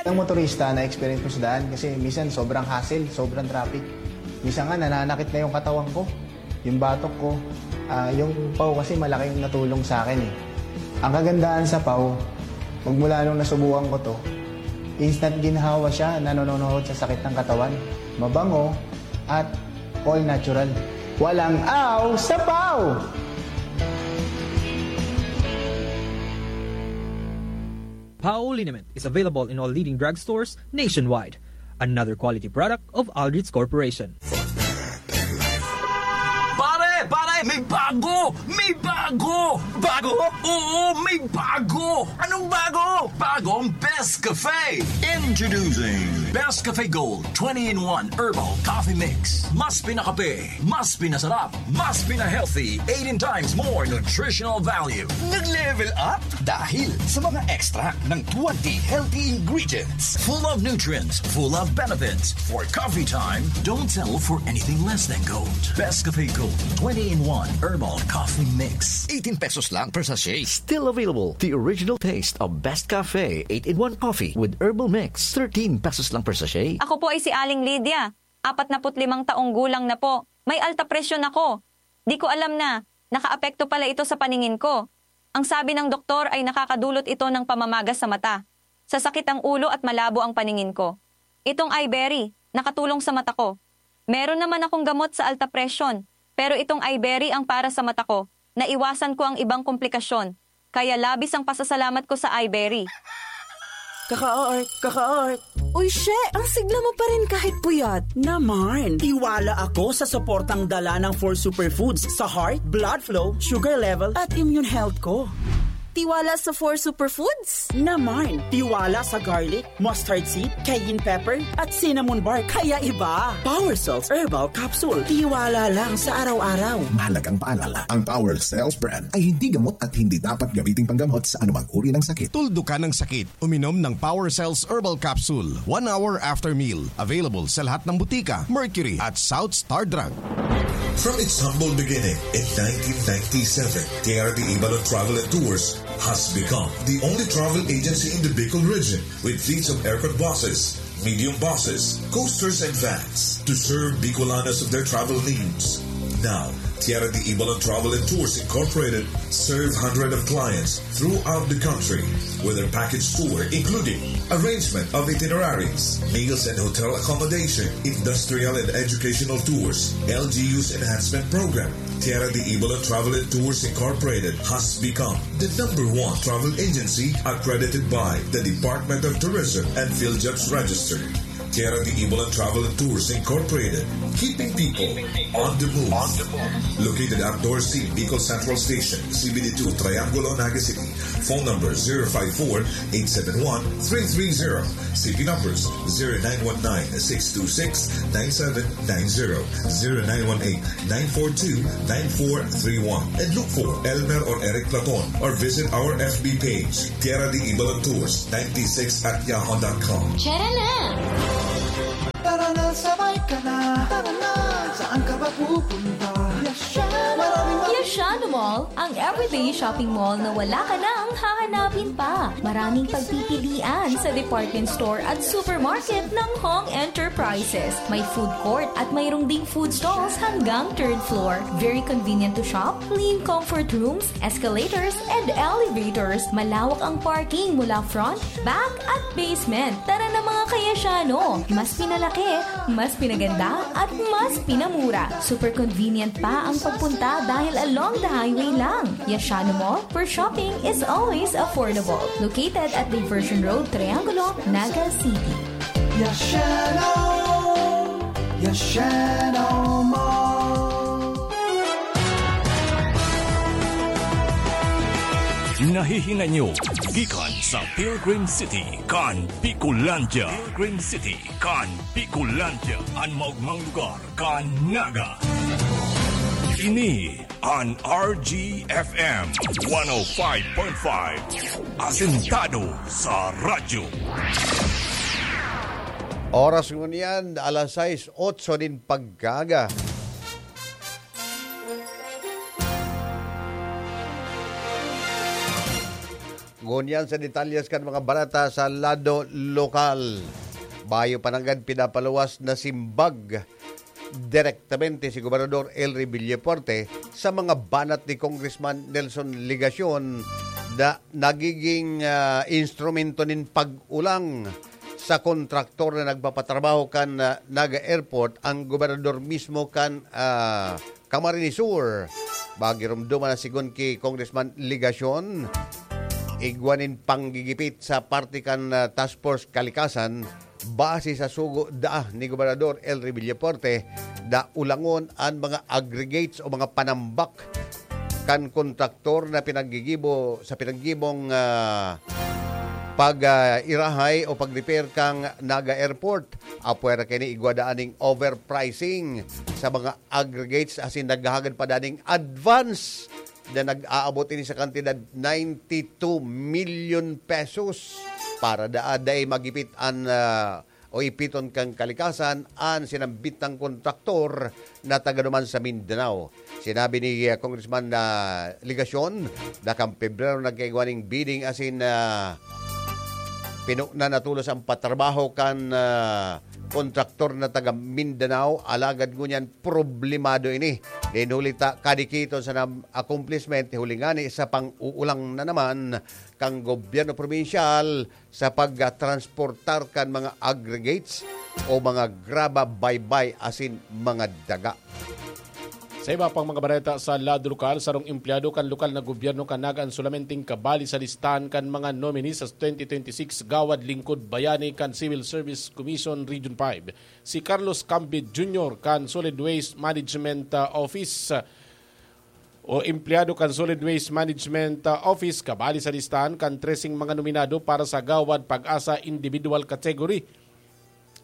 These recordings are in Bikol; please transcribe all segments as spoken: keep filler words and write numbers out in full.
Ang motorista na experience ko sa daan kasi minsan sobrang hassle, sobrang traffic. Minsan nga nananakit na yung katawan ko, yung batok ko. Ah, yung pau kasi malaki yung natulong sa akin eh. Ang kagandahan sa pau, magmula nung nasubukan ko to, instant ginhawa siya, nanononohod sa sakit ng katawan. Mabango at all natural. Walang aw sa pau! Pau liniment is available in all leading drugstores nationwide. Another quality product of Aldrich Corporation. Pare! Pare! May bago! May bago! Bago? Oo, may bago! Anong bago? Bagong Best Cafe! Introducing Best Cafe Gold twenty-in-one Herbal Coffee Mix. Mas pinakape, mas pinasarap, mas pina-healthy, eighteen times more nutritional value. Nag-level up dahil sa mga extract ng twenty healthy ingredients. Full of nutrients, full of benefits. For coffee time, don't settle for anything less than gold. Best Cafe Gold twenty-in-one Herbal Coffee Mix. Eighteen pesos lang per sachet. Still available, the original taste of Best Cafe eight-in-one Coffee with Herbal Mix. Thirteen pesos lang per sachet. Ako po ay si Aling Lydia. Apat na put limang taong gulang na po. May alta presyon ako. Di ko alam na nakaapekto pala ito sa paningin ko. Ang sabi ng doktor ay nakakadulot ito ng pamamaga sa mata, sasakit ang ulo at malabo ang paningin ko. Itong Iberry, nakatulong sa mata ko. Meron naman akong gamot sa alta presyon, pero itong Iberry ang para sa mata ko. Naiwasan ko ang ibang komplikasyon. Kaya labis ang pasasalamat ko sa Iberry. Kaka-art, kaka-art. Uy, she, ang sigla mo pa rin kahit puyat. Naman, tiwala ako sa suportang dala ng four superfoods sa heart, blood flow, sugar level, at immune health ko. Tiwala sa four superfoods? Naman, tiwala sa garlic, mustard seed, cayenne pepper, at cinnamon bark. Kaya iba. Power Cells Herbal Capsule. Tiwala lang sa araw-araw. Mahalagang paalala, ang Power Cells brand ay hindi gamot at hindi dapat gamiting panggamot sa anumang uri ng sakit. Tuldukan ng sakit. Uminom ng Power Cells Herbal Capsule one hour after meal. Available sa lahat ng butika, Mercury at South Star Drug. From its humble beginning in nineteen ninety-seven, Tierra de Ibalon Travel and Tours has become the only travel agency in the Bicol region with fleets of aircon buses, medium buses, coasters, and vans to serve Bicolanos of their travel needs. Now, Tierra de Ibalon Travel and Tours Incorporated serve hundreds of clients throughout the country with their package tour, including arrangement of itineraries, meals and hotel accommodation, industrial and educational tours, L G U's enhancement program. Tierra de Ibalon Travel and Tours Incorporated has become the number one travel agency accredited by the Department of Tourism and PhilJobs Register. Tierra de Ibalon Travel and Tours Incorporated, keeping people on the move. Located at Dorsey, Bicol Central Station, C B D two, Triangulo, Naga City. Phone number zero five four, eight seven one, three three zero. C P numbers zero nine one nine, six two six, nine seven nine zero, zero nine one eight, nine four two, nine four three one. And look for Elmer or Eric Platon or visit our F B page, Tierra de Ibalon Tours ninety-six at yahoo dot com. Tara na! Tara na, sabay ka na. Tara na, saan ka ba pupunta? Yashano! Maraming Yashano Mall, ang everyday shopping mall na wala ka nang hahanapin pa. Maraming pagpipilian sa department store at supermarket ng Hong Enterprises. May food court at mayroong ding food stalls hanggang third floor. Very convenient to shop, clean comfort rooms, escalators, and elevators. Malawak ang parking mula front, back, at basement. Tara na, mga ka-Yashano! Mas pinalaki, mas pinaganda, at mas pinamura. Super convenient pa ang pagpunta dahil along the highway lang. Yashano Mall, where shopping is always affordable. Located at Diversion Road, Triangulo, Naga City. Yashano! Yashano Mall! Nahihinay nyo gikan sa Pilgrim City kan Bicolandia. Pilgrim City kan Bicolandia, an maogmang lugar kan Naga. Ini an R G F M one oh five point five, asentado sa radyo. Oras ngunyan, alas sais, otso nin pagkaaga. Ngunyan sa detalyes kan mga barata sa lado lokal. Bayo pa nanggad pinapaluwas na simbag direktamente si Gobernador Elry Villafuerte sa mga banat ni Congressman Nelson Legacion na nagiging, ah, instrumento nin pag-ulang sa kontraktor na nagpapatrabaho kan, ah, Naga Airport, ang gobernador mismo kan, ah, Camarines Sur. Magiromdom na sigon ki Congressman Legacion, igwa nin panggigipit sa parte kan, ah, Task Force Kalikasan, base sa sugo daa ni Gobernador Elry Villafuerte, na ulangon an mga aggregates o mga panambak kan kontraktor na pinaggigibo sa pinaggibong, ah, pag, ah, irahay o pag-repair kan Naga Airport. Apwera kaini, igwa daa ning overpricing sa mga aggregates asin naghahagad pa daa ning advance na nag-aabot ini sa kantidad ninety-two million pesos. Para daa dai magipit an, ah, o ipiton kan kalikasan an sinambit na kontraktor na taga duman sa Mindanao. Sinabi ni, ah, Congressman na Legacion na kan Pebrero nagkaigwa ning bidding asin, ah, pinuna na tolos ang patrabaho kan, ah, kontraktor na taga Mindanao, alagad ngunyan problemado ini. Nin huli ta kadikiton sa nam-, accomplishment, huli ngani sa pang-uulang na naman kan gobyerno probinsyal sa pagtransportar kan mga aggregates o mga graba, baybay asin mga daga. Sa iba pang mga bareta sa lado lokal, sarong empleyado kan lokal na gobyerno kan Naga an solamenteng kabali sa listahan kan mga nominees sa twenty twenty-six Gawad Lingkod Bayani kan Civil Service Commission Region five, si Carlos Cambid Junior kan Solid Waste Management, ah, Office, ah, o empleyado kan Solid Waste Management, ah, Office, kabali sa listahan kan treseng mga nominado para sa Gawad Pag-asa Individual Category.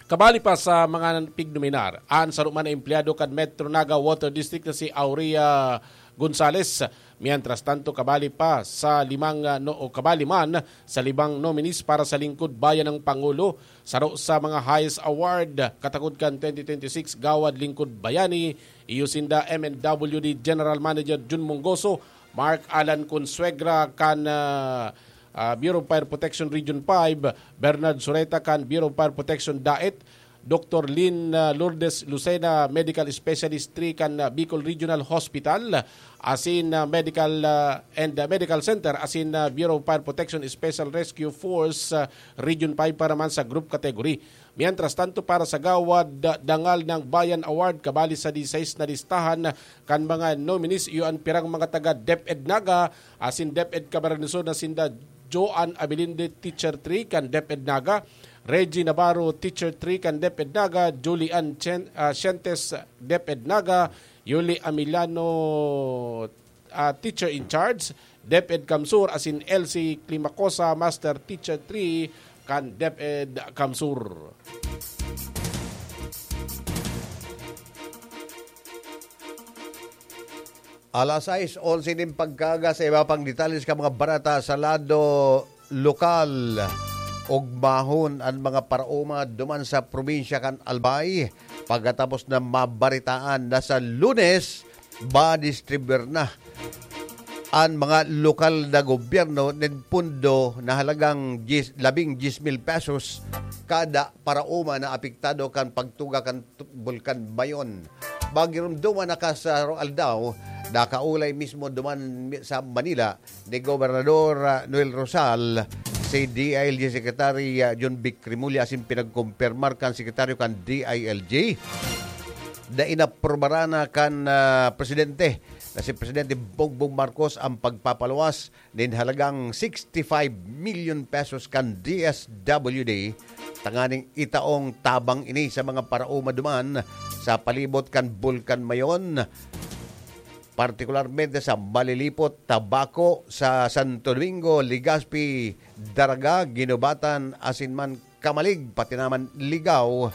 Kabali pa sa mga pignominar, an saro man na empleyado kan Metro Naga Water District na si Aurea Gonzales. Mientras tanto, kabali pa sa limang, ah, no, o kabali man sa limang nominees para sa Lingkod Bayan ng Pangulo. Saro sa mga highest award katakod kan twenty twenty-six Gawad Lingkod Bayani, iyo sinda M N W D General Manager Jun Mongoso, Mark Alan Consuegra kan, ah, ah, Bureau of Fire Protection Region five, Bernard Sureta kan Bureau of Fire Protection Daet, Doktor Lynn, ah, Lourdes Lucena, Medical Specialist three kan, ah, Bicol Regional Hospital, asin, ah, Medical, ah, and, ah, Medical Center, asin, ah, Bureau of Fire Protection Special Rescue Force, ah, Region five para man sa group category. Mientras tanto, para sa Gawad, ah, Dangal ng Bayan Award, kabali sa disais na listahan kan mga nominees, iyo an pirang mga taga DepEd Naga, asin DepEd Camarines Sur na sinda Joan Abilinde, Teacher three kan DepEd Naga, Reggie Navarro, Teacher three kan DepEd Naga, Julie Ann Chen-, ah, Sientes, DepEd Naga, Yuli Amiliano, ah, Teacher in Charge, DepEd CamSur, asin Elsie Climacosa, Master Teacher three kan DepEd CamSur. Alas sais onse nin pagkaaga, sa iba pang detalles kan mga barata sa lado lokal. Ugmahon an mga paraoma duman sa probinsya kan Albay pagkatapos na mabaritaan na sa Lunes madistribuir na an mga lokal na gobyerno nin pondo na halagang diyes, labing diyes mil pesos kada paraoma na apektado kan pagtuga kan tu-, Bulkan Mayon. Magiromdoman na ka sa aldaw, nakaulay mismo duman mi-, sa Manila ni Gobernador, ah, Noel Rosal si D I L G Secretary, ah, John Vic Remulla asin pinagkumpirmar kan sekretaryo kan D I L G na inaprubaran na kan, ah, presidente na si Presidente Bongbong Marcos ang pagpapaluwas nin halagang sixty-five million pesos kan D S W D, tanganing itaong tabang ini sa mga paraoma duman sa palibot kan Bulkan Mayon, partikularmente sa Malilipot, Tabaco, sa Santo Domingo, Legazpi, Daraga, Guinobatan, asin man Camalig, pati naman Ligao,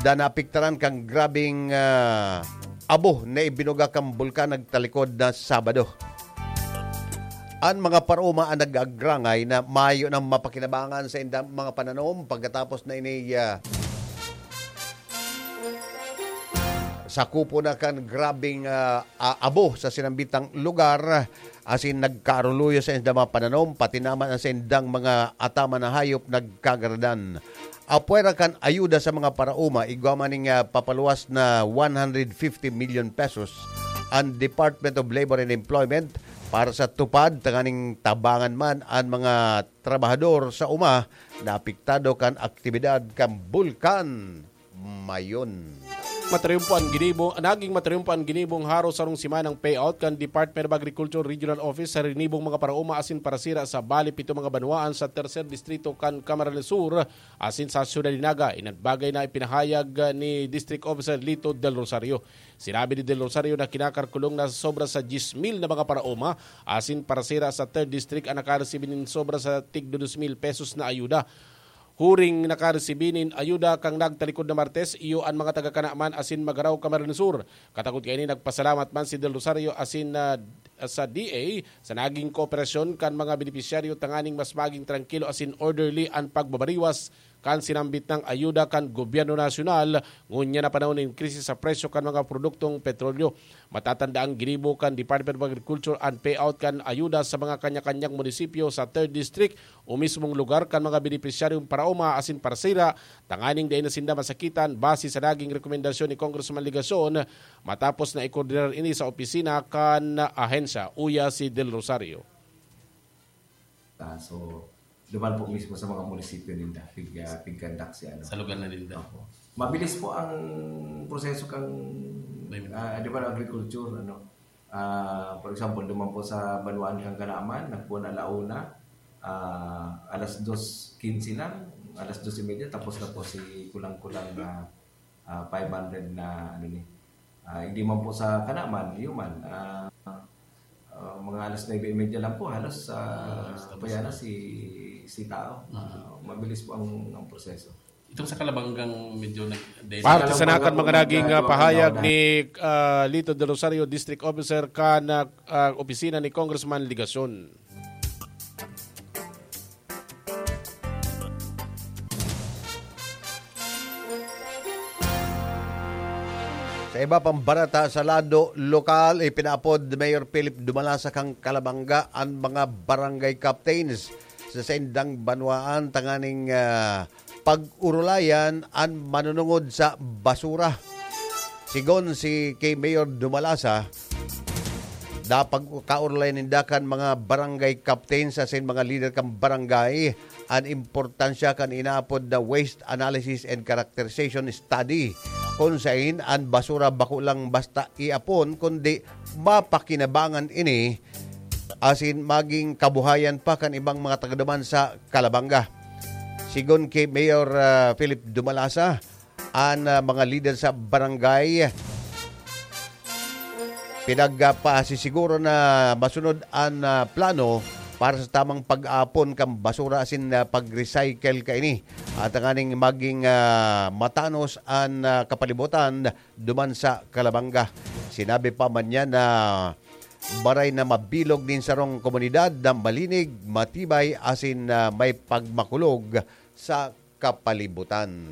da naapektaran kan grabeng, ah, abo na ibinuga kan bulkan nagtalikod na Sabado. An mga paraoma an nag-agrangay na mayo nang mapakinabangan sa indang mga pananom pagkatapos na ini, ah, sakupo na kan grabeng, ah, a-, abo sa sinambitang lugar. asin nagkaaruluyo sa indang mga pananom, pati naman ang sa indang mga ataman na hayop nagkagaradan. Apwera kan ayuda sa mga paraoma, igwa man ning, ah, papaluwas na one hundred fifty million pesos ang Department of Labor and Employment para sa TUPAD, tanganing tabangan man ang mga trabahador sa uma na apektado kan aktibidad kan Bulkan Mayon. Matriumpo an ginibo, naging matriumpo an ginibong haros sarong semanang payout kan Department of Agriculture Regional Office sa rinibong mga paraoma asin parasira sa bali pito mga banwaan sa Tercer Distrito kan Camarines Sur asin sa Ciudad de Naga. Iyan an bagay na ipinahayag ni District Officer Lito Del Rosario. Sinabi ni Del Rosario na kinakalkulong na sobra sa diyes mil na mga paraoma asin parasira sa Third District ang nakaresibi nin sobra sa tig dos mil pesos na ayuda. Huring nakaresibi nin ayuda kan nagtalikod na Martes, iyo an mga taga Canaman asin Magarao, Camarines Sur. Katakod kaini, nagpasalamat man si Del Rosario asin, ah, sa D A sa naging kooperasyon kan mga benepisyaryo tanganing mas maging trangkilo asin orderly an pagbabariwas kan sinambit nang ayuda kan gobyerno nasyonal, ngunyan na panahon nin krisis sa presyo kan mga produktong petrolyo. Matatanda ang ginibo kan Department of Agriculture an payout kan ayuda sa mga kanya-kanyang munisipyo sa Third District o mismong lugar kan mga benepisyaryong paraoma asin parasira, tanganing dai na sinda masakitan, base sa naging rekomendasyon ni Congressman Legacion, matapos na ikoordinar ini sa opisina kan ahensya, uya si Del Rosario. Ah, so, duman po mismo sa mga munisipyo ninda, pig, ah, pigkandak si ano. Sa lugar na ninda. Opo. Mabilis po ang proseso kang, May- ah, di ba, agriculture, ano. Ah, for example, duman po sa banwaan kang Kanaman, nagpuan alauna, ah, alas dos quince lang, alas dos y media, tapos na po si kulang-kulang na, ah, five hundred na, ano ni. Ah, hindi man po sa Kanaman, yun man. Ah, ah, mga alas nuebe y media lang po, halos, ah, Halos tapos apoyan na na. si, si tao. Ah, mabilis po ang, ang proseso. Itong sa Kalabanggang medyo nag- Parte sa nakan mga naging, ah, pahayag ni, ah, Lito Del Rosario, District Officer kan, ah, ah, opisina ni Congressman Legacion. Sa iba pang barata sa lado lokal, ipinaapod ni Mayor Philip Dumalasa kan Calabanga an mga barangay captains sa saindang banwaan tanganing, ah, pag-urulayan an manunungod sa basura. Sigon si kay Mayor Dumalasa, napagkaurulayan ninda kan mga barangay captains asin mga lider kan barangay an importansya kan inaapod na waste analysis and characterization study, kun sain an basura bako lang basta iapon, kundi mapakinabangan ini asin maging kabuhayan pa kan ibang mga tagaduman sa Calabanga. Sigon kay Mayor, ah, Philip Dumalasa, an, ah, mga lider sa barangay pinagpasisiguro na masunod an, ah, plano para sa tamang pag-aapon kan basura asin, ah, pag-recycle kaini, at tanganing maging, ah, matanos an, ah, kapalibutan duman sa Calabanga. Sinabi pa man niya na maray na mabilog nin sarong komunidad na malinig, matibay asin, ah, may pagmakulog sa kapalibutan.